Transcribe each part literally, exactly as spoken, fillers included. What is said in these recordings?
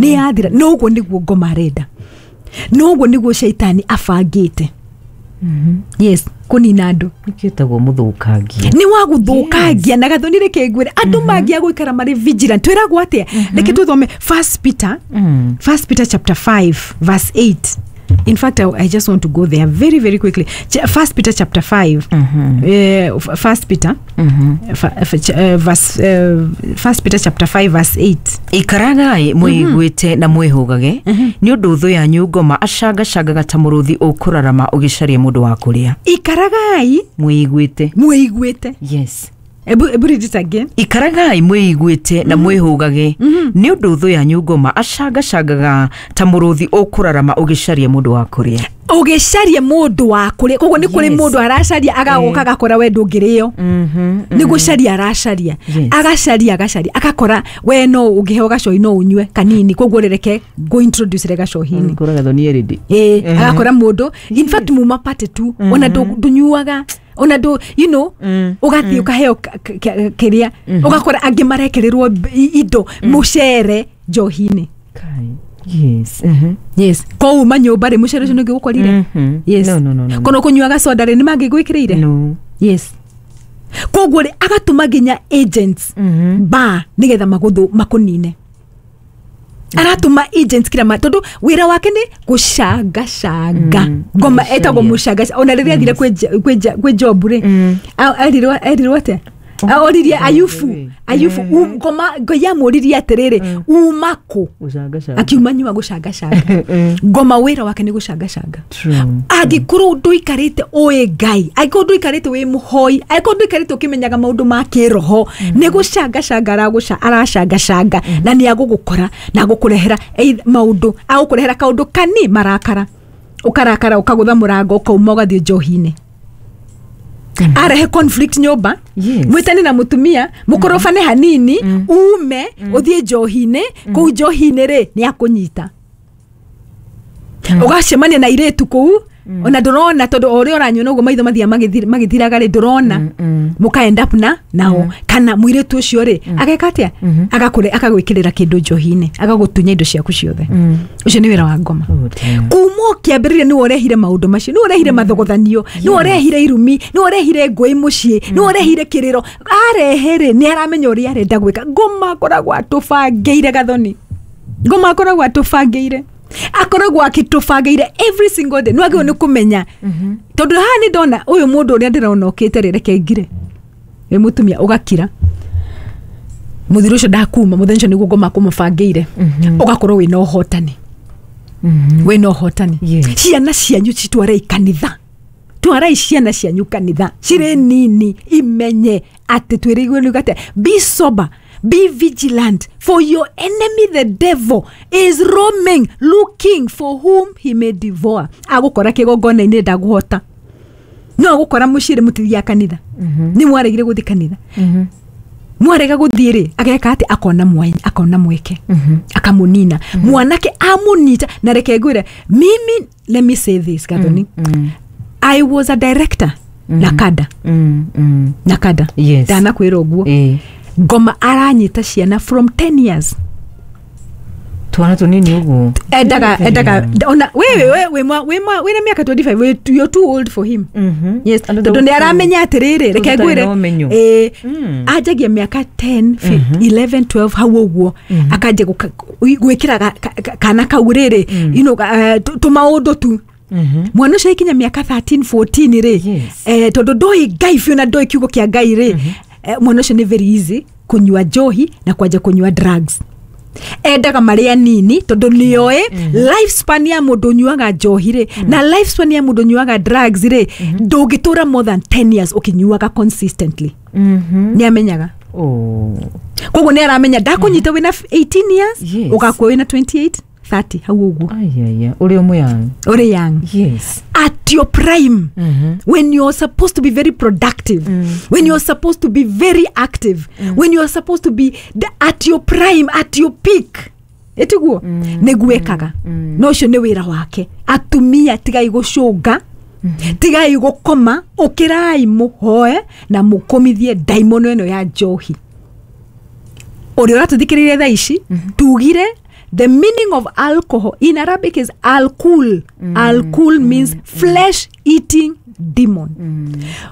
Nĩ yathira. No ũguo nĩguo ngoma arenda, no ũguo nĩguo caitani abangĩte, yes, kũnina andũ. Nĩkĩtagwo mũthũkangia. Nĩ wa gũthũkangia. Na Gathoni, reke ngwĩre, andũ mangĩa gũikara marĩ vigilant. Twĩragwo atĩa? Reke tũthome First Peter, Mm. First Peter chapter five verse eight. In fact, I, I just want to go there very, very quickly. Ch- First Peter chapter five. Eh, f- First Peter fa- f- ch- eh, verse eh, First Peter chapter five verse eight. Ikaragai mwĩiguĩte na mwĩhũgage, nĩ ũndũ thũ yanyu ngoma acangacangaga ta mũrũthi ũkũrarama ũgĩcaria mũndũ wa kũrĩa. Ikaragai mwĩiguĩte. Mwĩiguĩte. Yes. Ebu, ebu read it again. Ikaragai mwĩiguĩte na mwĩhũgage, nĩ ũndũ thũ yanyu ngoma acangacangaga ta mũrũthi ũkũrarama ũgĩcaria mũndũ wa kũrĩa. Ũgĩcaria mũndũ wa kũrĩa. Koguo nĩ kũrĩ Yes. mũndũ aracaria, agagoka agakora we ndũngĩrĩo. Nĩ gũcaria aracaria. Yes. Agacaria, agacaria, agakora we no ũngĩheo gacohi no ũnyue kanini, koguo reke ngũ introduce re gacohi-inĩ. Kũra Gathoni erĩndĩ. Ĩĩ, agakora mũndũ, in fact, muma party tu, ona ndũ- ndũnyuaga, ona ndũ you know ũgathiĩ ũkaheo ka- ka- kĩrĩa, ũgakora angĩ marekererwo b- indo, mũcere njohi-inĩ. Yes. Mhm. Yes, kouma nyũmba rĩ, mũcere ũcio nĩ ũngĩgũkorire. Mhm. Yes. No, no, no, no, no. Kono kũnyuaga soda rĩ, nĩ mangĩgwĩkĩrĩire. No. Yes, koguo rĩ, agatũma nginya agents ba nĩgetha magũthũ makũnine. Aratũma agents kila ma, tondũ wĩra wake nĩ gũcangacanga. Mm, ngoma gũcaria. Etagwo mũcangaca. Ona rĩrĩa athire kwĩ Ja- kwĩ Ja- kwĩ Job rĩ, a- erirwo erirwo atĩa? A- oririe Ayubu. Ayubu, um- ngoma Ngai amũririe atĩrĩrĩ, uma kũ? Gũcangacanga. Akiuma nyua gũcangacanga. Ngoma wĩra wake nĩ gũcangacanga. True. Angĩkorwo ndũikarĩte ũĩ Ngai, angĩkorwo ndũikarĩte wĩ mũhoi, angĩkorwo ndũikarĩte ũkĩmenyaga maũndũ ma kĩroho, nĩ gũcangacanga aragũca, aracangacanga, na nĩ agũgũkora na agũkũrehera either maũndũ, agũkũrehera kaũndũ kani marakara, ũkarakara, ũkagũtha mũrango, ũkauma, ũgathiĩ njohi-inĩ. Arehe conflict nyũmba. Yes. Mwĩtane na mũtumia, mũkorobane hanini, ume ũthiĩ njohi-inĩ. Kũu njohi-inĩ rĩ, nĩ akũnyita, ũgacemania na irĩtu kũu, ona ndũrona, tondũ o ũrĩa ũranyua noguo maitho mathiaga magĩthir- magĩthiraga rĩ, ndũrona, mũka end up na nao. Kana mũirĩtu ũcio rĩ, ageka atĩa? Agakũre, akagwĩkĩrĩra kĩndũ njohi-inĩ, agagũtunya indo ciaku ciothe. Ũcio nĩ wĩra wa ngoma. Oh, dear. Kuma ũkĩambĩrĩria nĩwe ũrehire maũndũ macio, nĩwe ũrehire mathogothanio, nĩwe ũrehire irumi, nĩwe ũrehire ngũĩ mũciĩ, nĩwe ũrehire kĩrĩro. Arehe rĩ, nĩ aramenya ũrĩa arenda gwĩka. Ngoma akoragwo atũbangĩire. Gathoni, ngoma akoragwo atũbangĩire, akoragwo akĩtũbangĩire every single day. Nĩ wagĩrĩirwo nĩ kũmenya, tondũ haha nĩ ndona ũyũ mũndũ ũrĩa ndĩrona ũkĩte rĩ, reke ngire wĩ mũtumia, ũgakira mũthiro ũcio ndakuma mũthenya ũcio, nĩguo ngoma kũmũbangĩire. Ũgakorwo wĩna ũhotani, wĩna ũhotani. Yes. Ciana cianyu citwarei kanitha, twarai ciana cianyu kanitha cirĩ nini, imenye atĩ twĩrĩirwo nĩ atĩ be sober, be vigilant, for your enemy the devil is roaming looking for whom he may devour. Agũkora kĩgongona-inĩ, ndagũhota, no agũkora mũciĩ rĩ, mũtithiaga kanitha, nĩ mwaregire gũthiĩ kanitha. Mwarega gũthiĩ rĩ, ageka atĩ akona mwanya, akona mweke, akamũnina mwanake, amũnyita. Na reke ngwĩre, mimi, let me say this, Gathoni, I was a director na kada Mm, mm. na kada. Yes. Ndanakwĩra ũguo. Eh. Ngoma aranyita ciana from ten years. Twana tũnini ũguo. Endaga, endaga ona wewe we we mwa- we mwa- wĩna mĩaka mĩrongo ĩĩrĩ na ĩtano, we- you're too old for him. Mhm. Yes. Andũ Tondũ nĩ aramenya atĩrĩrĩ, reke Tũtarĩ ngwĩre, na ũmenyo. ĩĩ, Mm. anjagia mĩaka ikũmi, ikũmi na ĩmwe, ikũmi na igĩrĩ hau ũguo, akanjia gũka- gwĩkĩra ga- ka- ka- kana kau rĩrĩ, you know, eh, tũ- tũmaũndũ tu. Mwana ũcio aikinya mĩaka thirteen fourteen rĩ, Yes. eh, tondũ ndoĩ Ngai biũ na ndoĩ kiugo kĩa Ngai rĩ, eh, mwana ũcio nĩ very easy kũnyua njohi na kwanja kũnyua drugs. Endaga marĩa nini, tondũ nĩoĩ lifespan ya mũndũ ũnyuaga njohi rĩ, na lifespan ya mũndũ ũnyuaga drugs rĩ, ndũngĩtũra more than ten years ũkĩnyuaga consistently. Mhm. Nĩ amenyaga. Oh. Koguo nĩ aramenya ndakũnyita wĩna eighteen years, Yes. ũgakua wĩna twenty-eight thirty hau ũguo. Ayaya, ũrĩ o mũyang. Ũrĩ young. Yes. At your prime, Mhm. when you're supposed to be very productive, when you're supposed to be very active, when you're supposed to be the, at your prime, at your peak, ĩtiguo nĩguo ekaga. No ũcio nĩ wĩra wake. Atumia, tigai gũcũnga, tigai gũkoma, ũkĩrai mũhoe na mũkũmithie ndaimono ĩno ya njohi. Ũrĩa ũratũthikĩrĩria thaa ici, tugire The meaning of alcohol in Arabic is alcohol. Mm. Alcohol mm. means mm. flesh eating demon.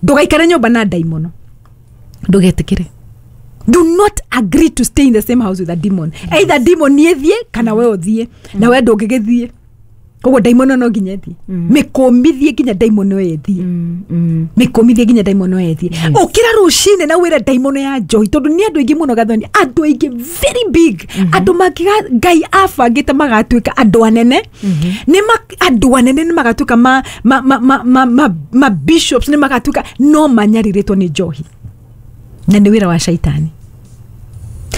Ndugaikare nyumba na daimono. Ndugetikire. Do not agree to stay in the same house with a demon. Yes. Either demon niethie kana we uthie mm. na we ndungigithie. Koguo daimono no nginya ethie. Mm. Mikumithie nginya daimono ethie. Mm. Mm. Mikumithie nginya daimono ethie. Yes. Ukira rucine na wira daimono ya njohi tondu ni andu aingi muno Gathoni, andu aingi very big. Mm -hmm. Andu makiga Ngai abangite magatuika andu anene. Mm -hmm. Ni andu anene ni magatuika ma ma ma ma ma, ma, ma bishops ni magatuika no manyariritwo ni njohi. Na ni wira wa shaitani.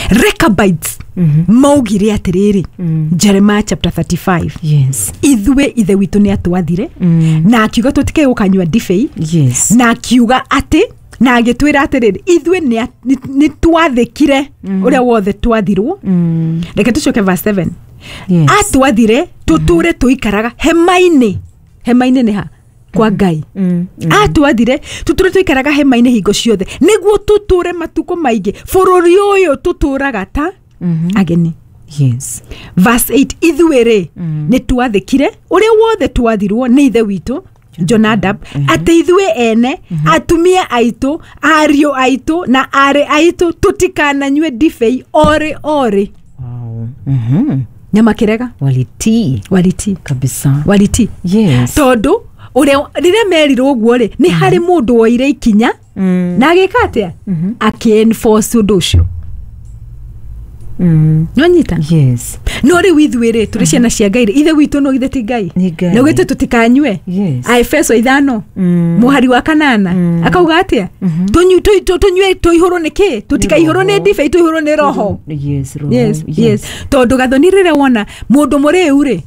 Rechabites mm -hmm. maugire atiriri mm. Jeremiah chapter thirty-five. Yes. Ithwe ithe witu ni atwathire mm. na akiuga tutike gukanyua ndibei. Yes. Na akiuga ati na agitwira atiriri ithwe ni twathikire mm. uria wothe twathirwo. Mm. Reke tucoke verse seven. Yes. Atwathire tuture tuikaraga hema-ini. Hema-ini ni ha kwa Ngai. Mm, mm. Atwathire tuture tuikaraga hema-ini hingo ciothe niguo tuture matuko maingi bururi uyu tuturaga ta mm -hmm. ageni. Yes. Verse eight ithuĩ mm. ni twathikire uria wothe twathirwo ni ithe witu Jonadab mm -hmm. ati ithuĩ ene mm -hmm. atumia aitu ariũ aitu na arĩ aitu tutikananyue ndibei ori ori. Wow. Mhm. Nyama kirega walitii walitii kabisa walitii. Yes. Tondu uria riria merirwo uguo ri ni hari mundu woire ikinya na agika atia aki enforce undu ucio. Mm. Nonyita? Yes. No riu ithuĩ rĩ tũrĩ ciana cia Ngai rĩ ithe witũ no ithe ti Ngai na ugĩte tũtikanyue. Yes. Aefeso ithano mũhari wa kanana akauga atia tũnyue tũihũrwo nĩ kĩ tũtikaihũrwo nĩ ndibei tũihũrwo nĩ roho. Yes, roho. Yes, yes. Tondũ Gathoni rĩrĩa wona mũndũ mũrĩu rĩ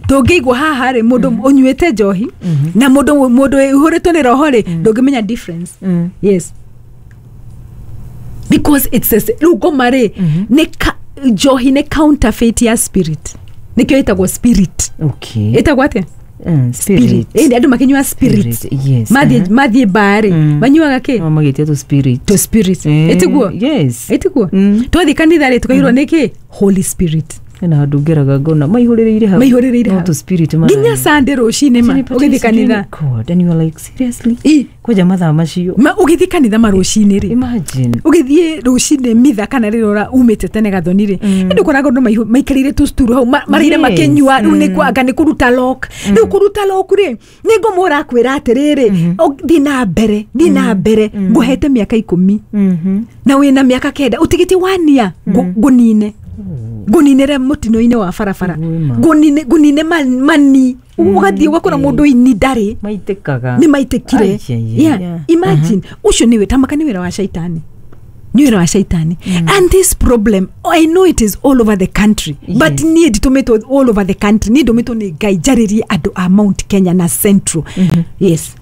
tũngĩigua haha rĩ mũndũ ũnyuĩte njohi na mũndũ mũndũ ũihũrĩtwo nĩ roho rĩ ndũngĩmenya difference. Yes. Because it's a rĩu ngoma rĩ nĩ njohi nĩ counterfeit ya spirit. Nikio ĩtagwo spirit. Okay. Ĩtagwo atĩa? Mm, spirit. Ĩndĩ andũ makĩnyua spirit. Yes. Mathiĩ mathiĩ bar rĩ manyuaga kĩ? No magĩtia tu spirit. To spirit. Ĩtiguo? Yes. Ĩtiguo? Twathiĩ kanitha rĩ tũkaihũrwo nĩ kĩ? Holy Spirit. Na handũ ngeraga ngona maihũrĩrĩire hau. Maihũrĩrĩire hau. No to spirit ma. Nginya Sunday rũcinĩ ma ũgĩthiĩ kanitha. God, and you are like seriously? Kwanja mathaa macio. Ma ũgĩthiĩ kanitha ma rũcinĩ rĩ. Imagine. Ũgĩthiĩ rũcinĩ mitha kana rĩrĩa ũra umĩte tene Gathoni rĩ. Nĩ ũkoraga andũ maikarĩire tũsturu hau marĩire makĩnyua rĩu nĩ anga nĩ kũruta lock. Rĩu kũruta lock rĩ nĩ ngoma ũrakwĩra atĩrĩrĩ thiĩ na mbere thiĩ na mbere ngũhete mĩaka ikũmi na wĩna mĩaka kenda ũtigĩtie wania ngũnine. Nguninere mutino-inĩ wa barabara ngunine ngunine mani ugathiĩ ugakora mũndũ ini ndarĩ maitĩkaga nĩ maitĩkire. Yeah, imagine ucio nĩ tamaka nĩ wĩra wa shaitani nĩ wĩra wa shaitani. And this problem I know it is all over the country. Yes. But niĩ nditũmĩtwo all over the country niĩ ndũmĩtwo nĩ Ngai njarĩrie andũ a Mount Kenya na Central. Yes.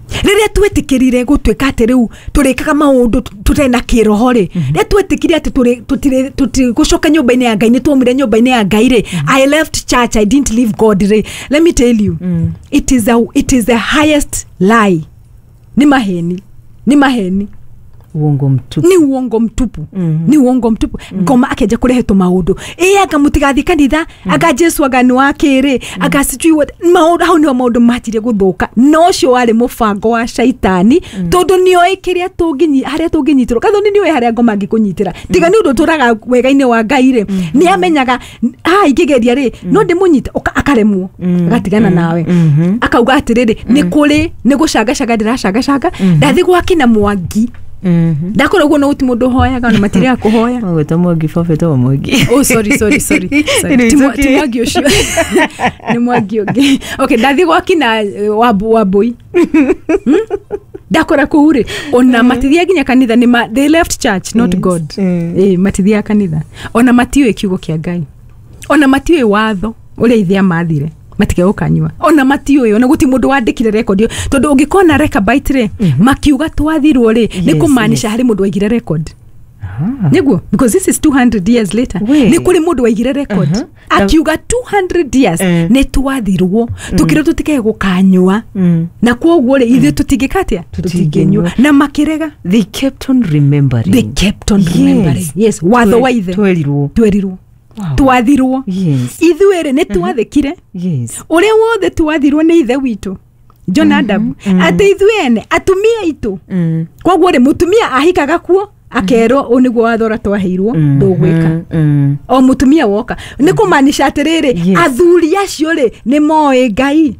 Rĩrĩa twetĩkĩrire gũtuĩka atĩ rĩu tũrĩkaga maũndũ tũtarĩ na kĩroho rĩ rĩrĩa twetĩkire atĩ tũtirĩ tũtigũcoka nyũmba-inĩ ya Ngai nĩ tuomire nyũmba-inĩ ya Ngai rĩ I left church I didn't leave God rĩ let me tell you mm. it is a, it is the highest lie. Nĩ maheni nĩ maheni uongo mtupu ni uongo mtupu. Mm -hmm. Ni uongo mtupu. Mm -hmm. Ngoma akeja kurehe tu maundu eh anga mutigathi kanitha mm -hmm. anga Jesu anga ni wakiri mm -hmm. anga sijui what maundu hau ni maundu matire guthuka no cio wari mubango wa shaitani. Mm -hmm. Tondu nioi kiria tunginyi haria tunginyitirwo Kathoni nioi haria ngoma ngikunyitira tiga ni undu turaga wega-ini wa Ngai ri ni amenyaga ha ingigeria ri no ndimunyite akaremwo agatigana nawe akauga atiriri ni kuri ni gucangacanga ndiracangacanga ndathi gwakina Mwangi. Mhm. Ndakora uguo no guti mundu hoyaga na matiria kuhoya. Ogweta Mwangi baba etagwo Mwangi. Oh sorry sorry sorry. Sorry. Ti Mwangi ucio. Ni Mwangi ungi. Okay, ndathi gwakina wabu wabui. Ndakora kuu ri ona matithia nginya kanitha ni ma, they left church not yes. God. Mm. Eh matithia kanitha. Ona matiũĩ kiugo kia Ngai. Ona matiũĩ watho uria ithe amathire. Matige gukanyua ona matiũĩ ona guti mundu wandikire record tondu ungikona Rechabite ri makiuga twathirwo ri ni kumaanisha hari mundu waigire record niguo because this is two hundred years later ni kuri mundu waigire record uh -huh. Akiuga two hundred years uh. ni twathirwo tukire tutike gukanyua mm. na koguo ri ithuĩ tutingĩkatia tutingĩnyua na makirega they kept on remembering they kept on remembering yes, yes. Watho wa ithe twerirwo twerirwo Wow. Twathirwo. Yes. Ithuĩ rĩ, nĩ twathĩkire Yes. ũrĩa wothe twathirwo nĩ ithe witũ Jonadab, atĩ ithuĩ ene atumia aitũ. Mm. Koguo rĩ, mũtumia ahikaga kuo akerwo ũũ nĩguo watho ũrĩa twaheirwo, ndũgwĩka. Mm. O mũtumia woka nĩ kũmaanisha atĩrĩrĩ, Yes. athuri acio rĩ, nĩ moĩ Ngai.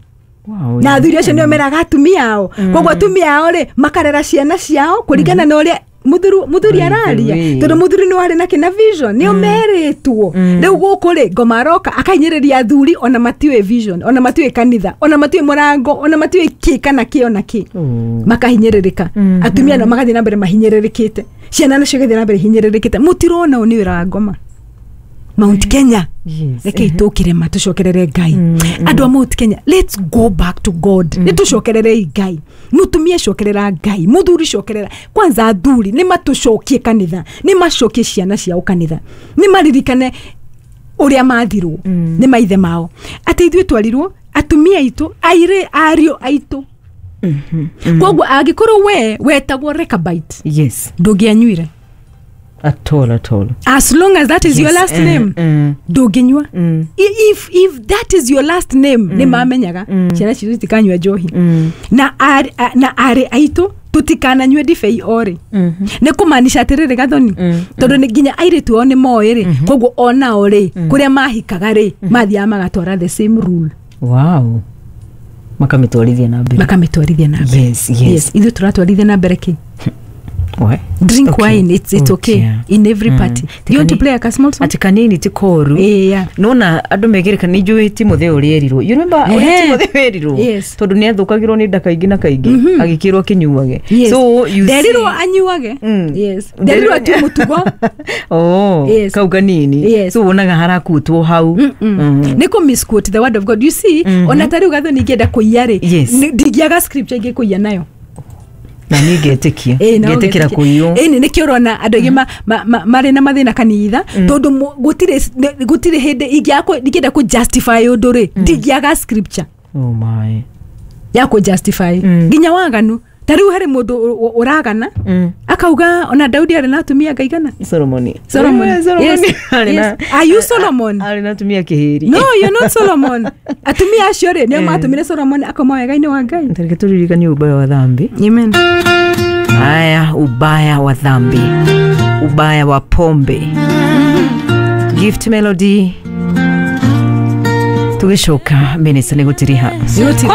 Wow. Na athuri acio nĩo meraga atumia ao. Koguo atumia ao rĩ, makarera ciana ciao kũringana na ũrĩa muthuri muthuri By the araria, way. tondu muthuri nĩ warĩ na kĩna vision, nĩo merĩtwo. Rĩu gũkũ rĩ, ngoma aroka akainyĩrĩria athuri, ona matiũĩ vision, ona matiũĩ kanitha, ona matiũĩ mũrango, ona matiũĩ kĩ kana kĩ ona kĩ. Oh. Makahinyĩrĩrĩka atumia nao magathiĩ na mbere mahinyĩrĩrĩkĩte, ciana nacio igathiĩ na mbere hinyĩrĩrĩkĩte. Mũtirona ũũ nĩ wĩra wa ngoma Mount Kenya? Yes. Rekei tũkire ma tũcokerere Ngai. Andũ a Mount Kenya, let's go back to God. Nĩ tũcokererei Ngai. Mũtumia, cokerera Ngai. Mũthuri, cokerera. Kwanza athuri nĩ matũcokie kanitha, nĩ macokie ciana ciao kanitha, nĩ maririkane ũrĩa mathirwo nĩ maithe mao, atĩ ithuĩ twarirwo atumia aitũ, airĩ, ariũ aitũ. Koguo angĩkorwo we wetagwo Rechabite, Yes. ndũngĩanyuire. At all, at all. As long as that is your Yes. last Mm, name, mm. ndũngĩnyua. Mm. I- if, if that is your last name, nĩ mamenyaga ciana citũ citikanyua njohi Mm. na arĩ a- na arĩ aitũ tũtikananyue ndibei orĩ. Nĩ kũmaanisha atĩrĩrĩ, Gathoni, tondũ nĩ nginya airĩtu ao nĩ moĩ rĩ, koguo onao rĩ, kũrĩa mahikaga rĩ, mathiaga magatwara the same rule. Wow. Makamĩtwarithia na mbere. Makamĩtwarithia na mbere. Yes, yes. Yes, ithuĩ tũratwarithia na mbere kĩ? We. Drink Okay. wine, it's, it's okay, Okay. in every party. You want to play a small song? Ati kanini ti koru. Eh, yeah. Nona andå megereka nä njå Timotheo å rä erirwo, you remember å rä Ehe. Timotheo erirwo? Yes. Tondå nä athå kagä rwo nä nda kaingä na kaingä, agä kä rwo akä nyuage. Yes. So you Nderirwo see- anyuage. Mm. Yes, nderirwo atue mũtugo. Oh, Yes. kau kanini. Yes. So wonaga harakutwo hau. Mm. Nĩ kũ misquote the word of God, you see. Ona ta rĩu, Gathoni, ingĩenda kũiya rĩ, Yes. nĩ- ndingĩaga scripture ingĩkũiya nayo. Na niä ngetä kia Ĩĩ, no ngetä kä ra ũgetĩkia. kå iywo. Ĩĩ, nĩ nĩkĩo ũrona andũ aingĩ ma- ma- ma- marĩ na mathĩna kanitha, tondũ mu- gũtirĩ nĩ- gũtirĩ hĩndĩ ingĩaga kũ- ingĩenda kũ justify ũndũ rĩ, ndingĩaga scripture Oh my. Ya kũ justify nginya waganu. Ta rĩu harĩ mũndũ ũ- ũ- ũragana Mm. akauga ona Daudi arĩ na atumia ngaigana. Solomoni. Solomon. Eh, Solomoni. Yes, Arĩ na- yes. Are you Solomon? Arĩ na atumia kä hä ri. No, you're not Solomon. Atumia acio rĩ, nĩo matũmire Solomon akoma wega-inĩ wa Ngai. Tareke tå ririkanie ubaya wa dhambi. Amen. Haya, ubaya wa dhambi, ubaya wa pombe. Gift Melody, tũgĩcoka minista nĩ gũtiriha. Nĩ gũtiriha.